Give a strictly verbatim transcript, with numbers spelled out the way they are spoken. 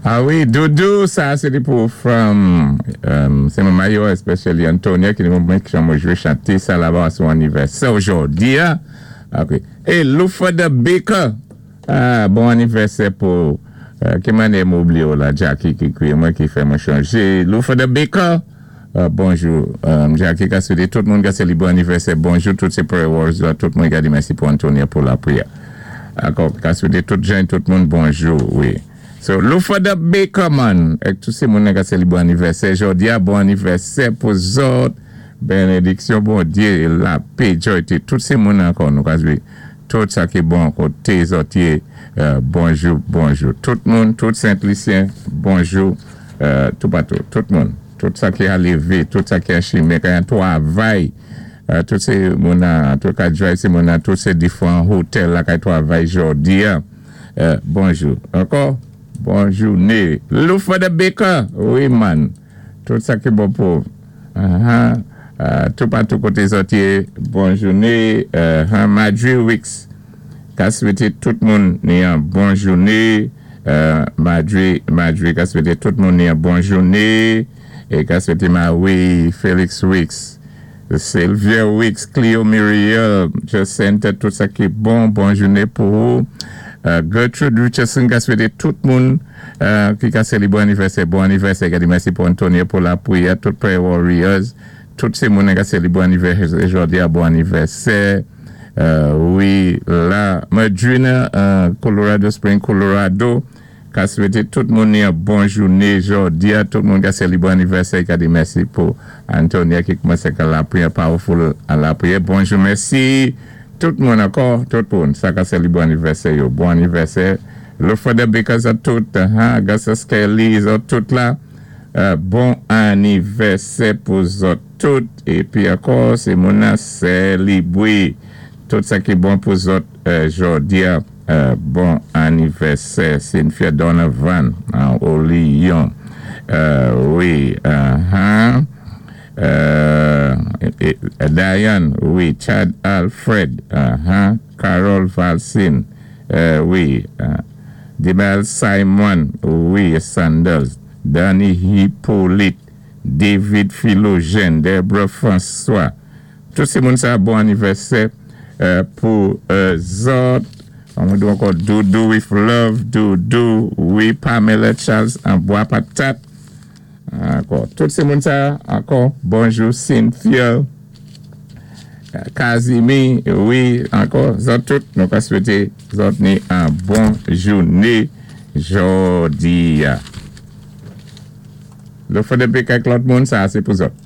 Ah wi, Doudou, sa sé pou from, um, sé mon mayo, especially Antonia, ki ni mwen ki mwen jwé chanté sa la-ba a son anniversaire aujourd'hui. Hein? Ok. Et Lufa the Baker, ah, bon anniversaire pou, euh, ki mannyè mwen oubliyé la, Jackie ki ékwi mwen ki fè mwen chanjé. Lufa the Baker, euh, bonjou. Um, Jackie ka swété tout moun ka sélibwé anniversaire. Bonjou, tout sé prayer warriors la, tout moun ka di mèsi pou Antonia pou lapriyè. Ankò, ka swété tout jan, tout moun bonjou, wi. So, Lufa the Baker man, èk tout sé moun ka sélibwé anniversaire. Jòdi a, bon anniversaire pou zòt. Bénédiksyon, Bondyé, lapè, joy, tout sé moun ankò, nou ka jwé. Tout sa ki bon koté zòt yé, euh, bonjou, bonjou. Tout moun, tout Sent-Lisyen, bonjou, euh, tout patou, tout moun. Tout sa ki a lévé, tout sa ki a chimen, ki an twavay, euh, tout sé moun an, tout ka drive sé moun an, tout sé difwan hotel la ka twavay jòdi a, euh, bonjou. Ankò, bonjou, né. Lufa the Baker, wi man. Tout sa ki bon pou. Uh-huh. Uh, tout patou koté zòt yé, bonjou né. Uh, Madry Wicks, ka swété tout moun ni an bon jouné. Uh, Madry, Madry, ka swété tout moun ni an bon jouné. É ka swété Marie Félix Wicks, Sylvia Wicks, Cleo Muriel, Jacinta, tout sa ki bon, bon jouné pou ou. Uh, Gertrude Richardson ka swété tout moun uh, ki ka sélibwé anniversaire, bon anniversaire, ka di mèsi pou Antonia pou lapriyè, tout prayer warriors, tout sé moun ka sélibwé anniversaire, jòdi a bon anniversaire. Uh, wi, la, Madrina, uh, Colorado Spring, Colorado, ka swété tout moun ni an bon jouné jòdi a, tout moun ka sélibwé anniversaire, ka di mèsi pou Antonia ki koumansé ka lapriyè, powerful a lapriyè. Bonjou, mèsi. Tout moun ankò, tout moun, sa ka sélibwé anniversaire yo, bon anniversaire. Lufa the Bakers a tout, ha, Gasa Skelly, zòt tout la, euh, bon anniversaire pou zòt tout. Épi ankò, sé moun an sélibwé. Tout sa ki bon pou zòt euh, jòdi a, euh, bon anniversaire. Cynthia Donovan, an Olion. Euh, wi, uh-huh. Euh, et, et, Diane, wi, Chad Alfred, uh-huh. Carol Valsin, euh, wi, uh, Dibal Simon, wi, Sanders, Danny Hippolyte, David Philogène, Deborah François. Tout sé moun sa bon anniversaire euh, pou euh, zòt. On di ankò Doudou with love, Doudou, wi, Pamela Charles, an Bois Patate. Ankò, tout sé moun sa, ankò, bonjou, Cynthia, Kazimi, wi, ankò, zòt tout, nou ka swété zòt ni an bon jouné jòdi a. Lè fò depi kèk lòt moun, sa sé pou zòt.